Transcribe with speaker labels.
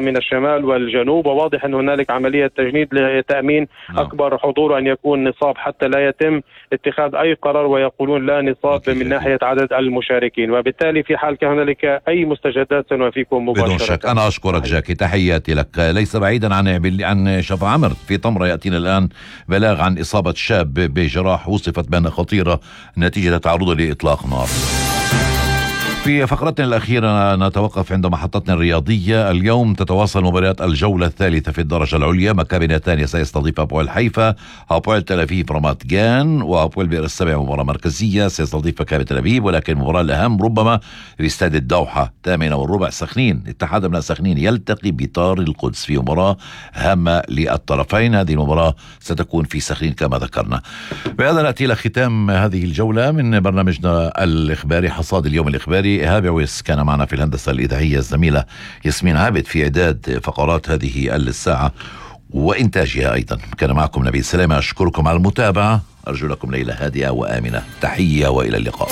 Speaker 1: من الشمال والجنوب، وواضح أن هنالك عملية تجنيد لتأمين أكبر حضور، وأن يكون نصاب حتى لا يتم اتخاذ أي قرار ويقولون لا نصاب من ناحية عدد المشاركين. وبالتالي في حال كان هنالك أي مستجدات سنوافيكم مباشرة.
Speaker 2: بدون شك. أنا أشكرك جاكي، تحياتي لك. ليس بعيدا عن شفا عمر في طمرة يأتينا الآن بلاغ عن إصابة شاب بجراح وصفت بأنها خطيرة نتيجة تعرضه لإطلاق نار. في فقرتنا الأخيرة نتوقف عند محطتنا الرياضية. اليوم تتواصل مباريات الجولة الثالثة في الدرجة العليا. مكابي نتانيا سيستضيف هابويل حيفا، هابويل تل أبيب رامات جان، وهابويل بئر السبع مباراة مركزية سيستضيف مكابي تل أبيب. ولكن المباراة الأهم ربما في استاد الدوحة 8:15 سخنين، اتحاد أبناء سخنين يلتقي بطار القدس في مباراة هامة للطرفين. هذه المباراة ستكون في سخنين كما ذكرنا. بهذا نأتي إلى ختام هذه الجولة من برنامجنا الإخباري حصاد اليوم الإخباري. إيهاب عويس كان معنا في الهندسة الإذاعية، الزميلة ياسمين عابد في إعداد فقرات هذه الساعة وإنتاجها أيضا. كان معكم نبيل سلامة، أشكركم على المتابعة، أرجو لكم ليلة هادئة وآمنة. تحية وإلى اللقاء.